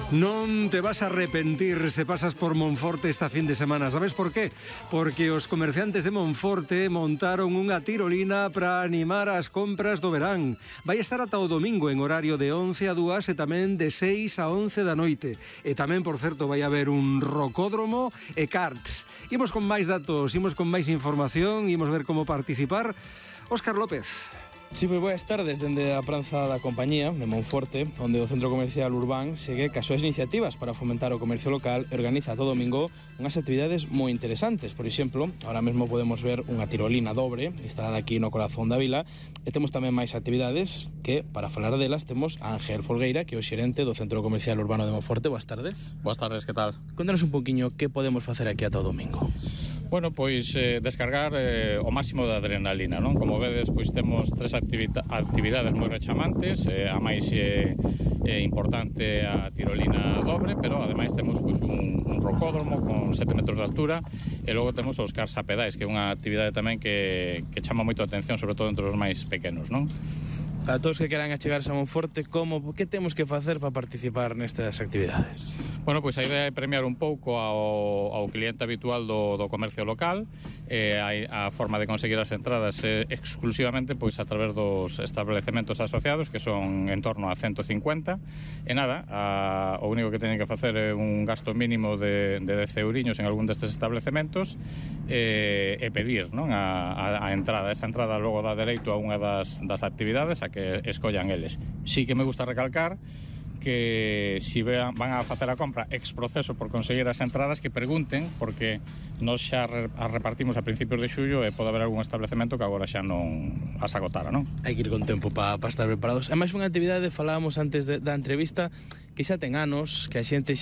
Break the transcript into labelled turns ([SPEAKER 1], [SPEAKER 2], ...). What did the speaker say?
[SPEAKER 1] Non te vas a arrepentir se pasas por Monforte esta fin de semana. Sabes por qué? Porque os comerciantes de Monforte montaron unha tirolina para animar as compras do verán. Vai estar ata o domingo en horario de 11 a 2 e tamén de 6 a 11 da noite. E tamén, por certo, vai haber un rocódromo e karts. Imos con máis datos, imos con máis información, imos ver como participar. Óscar López.
[SPEAKER 2] Sí, pois boas tardes dende a Praza da Compañía de Monforte, onde o Centro Comercial Urbán segue cas súas iniciativas para fomentar o comercio local e organiza todo domingo unhas actividades moi interesantes. Por exemplo, ahora mesmo podemos ver unha tirolina dobre instalada aquí no corazón da vila e temos tamén máis actividades que, para falar delas, temos a Ángel Folgueira, que é o xerente do Centro Comercial Urbano de Monforte. Boas tardes.
[SPEAKER 3] Boas tardes, que tal?
[SPEAKER 2] Contanos un poquinho que podemos facer aquí ata o domingo.
[SPEAKER 3] Bueno, pois descargar o máximo de adrenalina, non? Como vedes, pois temos tres actividades moi rechamantes, a máis importante a tirolina dobre, pero ademais temos pois un rocódromo con 7 metros de altura e logo temos os cars a pedais, que é unha actividade tamén que chama moito a atención, sobre todo entre os máis pequenos, non?
[SPEAKER 2] Para todos que queran achegarse a Monforte, que temos que facer para participar nestas actividades?
[SPEAKER 3] Bueno, pois a idea é premiar un pouco ao cliente habitual do comercio local. A forma de conseguir as entradas é exclusivamente pois a través dos establecementos asociados, que son en torno a 150. E nada, o único que teñen que facer é un gasto mínimo de 10 euriños en algún destes establecementos e pedir, non, a entrada. Esa entrada logo dá dereito a unha das actividades a que escollan eles. Sí que me gusta recalcar que si van a facer a compra ex proceso por conseguir as entradas, que pregunten, porque nós xa as repartimos a principios de xullo e pode haber algún establecemento que agora xa non as agotara, non?
[SPEAKER 2] Hai que ir con tempo para estar preparados. É máis unha actividade, falábamos antes da entrevista, que xa ten anos, que a xente